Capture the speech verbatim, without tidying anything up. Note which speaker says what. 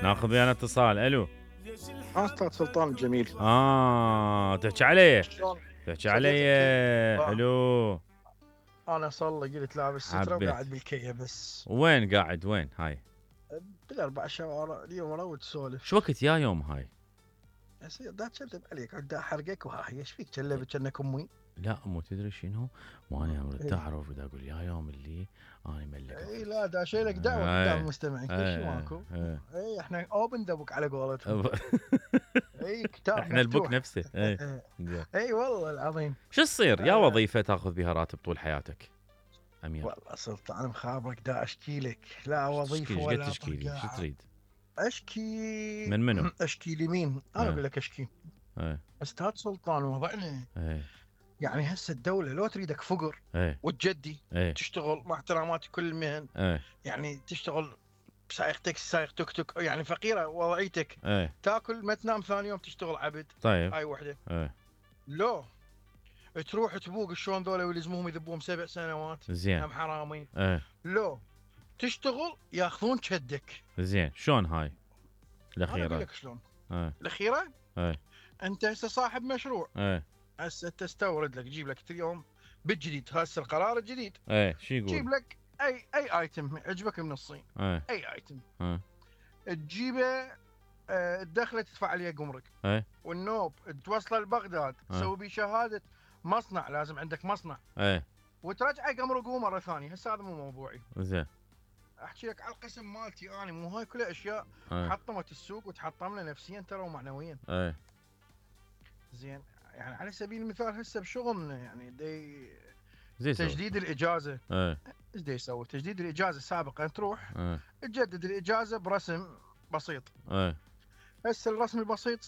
Speaker 1: ناخذ ويانا اتصال. الو.
Speaker 2: اه استاذ سلطان الجميل.
Speaker 1: اه تحكي علي
Speaker 2: شلون؟
Speaker 1: تحكي علي حلو.
Speaker 2: انا صار لي قلت لابس ستره
Speaker 1: حبيت.
Speaker 2: وقاعد بالكيه بس.
Speaker 1: وين قاعد وين هاي؟
Speaker 2: بالاربع شوارع اليوم اروح تسولف.
Speaker 1: شو وقت يا يوم هاي؟
Speaker 2: دا تكذب عليك دا احرقك وهاي ايش فيك كلبت كأنك امي.
Speaker 1: لا مو تدري شنو؟ مو انا اريد
Speaker 2: إيه.
Speaker 1: تعرف دا اقول يا يوم اللي انا ملك.
Speaker 2: اي لا دا شيلك دعوه قدام المستمعين كل شيء ماكو. اي احنا اوبن ذا بوك على قولتهم. اي كتاب
Speaker 1: احنا البوك نفسه. اي
Speaker 2: اي والله العظيم.
Speaker 1: شو تصير يا وظيفه تاخذ بها راتب طول حياتك؟ امير
Speaker 2: والله سلطان مخابرك دا اشكي لك لا وظيفه ولا
Speaker 1: تشكي لي شو تريد؟
Speaker 2: اشكي
Speaker 1: من منو؟
Speaker 2: اشكي لمين؟ انا اقول لك اشكي.
Speaker 1: ايه.
Speaker 2: استاذ سلطان وضعنا
Speaker 1: ايه.
Speaker 2: يعني هسه الدوله لو تريدك فقر
Speaker 1: ايه.
Speaker 2: وتجدي
Speaker 1: ايه.
Speaker 2: تشتغل مع احتراماتي كل المهن.
Speaker 1: ايه.
Speaker 2: يعني تشتغل سائق تاكسي سائق توك توك يعني فقيره وضعيتك.
Speaker 1: ايه.
Speaker 2: تاكل ما تنام ثاني يوم تشتغل عبد.
Speaker 1: طيب.
Speaker 2: هاي وحده.
Speaker 1: ايه.
Speaker 2: لو تروح تبوق شلون ذولا يلزموهم يذبوهم سبع سنوات.
Speaker 1: زين.
Speaker 2: هم حرامي.
Speaker 1: ايه.
Speaker 2: لو تشتغل ياخذون شدك.
Speaker 1: زين شلون هاي
Speaker 2: الاخيره؟
Speaker 1: الاخيره؟
Speaker 2: لك شلون؟
Speaker 1: ايه.
Speaker 2: الاخيره؟
Speaker 1: ايه.
Speaker 2: انت هسه صاحب مشروع.
Speaker 1: ايه.
Speaker 2: هسه تستورد لك تجيب لك اليوم بالجديد هسه القرار الجديد.
Speaker 1: ايه شو يقول؟
Speaker 2: تجيب لك اي اي ايتم عجبك من الصين.
Speaker 1: ايه.
Speaker 2: اي ايتم.
Speaker 1: ايه.
Speaker 2: تجيبه اه تدخله تدفع عليه جمرك.
Speaker 1: ايه.
Speaker 2: والنوب توصله لبغداد تسوي به شهاده مصنع لازم عندك مصنع.
Speaker 1: ايه.
Speaker 2: وترجعه جمركه مره ثانيه. هسه هذا مو موضوعي.
Speaker 1: زين.
Speaker 2: احكي لك على القسم مالتي انا مو هاي كلها اشياء
Speaker 1: ايه.
Speaker 2: حطمت السوق وتحطمنا نفسيا ترى ومعنويا.
Speaker 1: ايه.
Speaker 2: زين يعني على سبيل المثال هسه بشغلنا يعني دي
Speaker 1: زي
Speaker 2: تجديد
Speaker 1: سوي.
Speaker 2: الاجازه.
Speaker 1: ايه.
Speaker 2: ايش دا يسوي؟ تجديد الاجازه سابقا تروح
Speaker 1: ايه.
Speaker 2: تجدد الاجازه برسم بسيط.
Speaker 1: ايه.
Speaker 2: هسه الرسم البسيط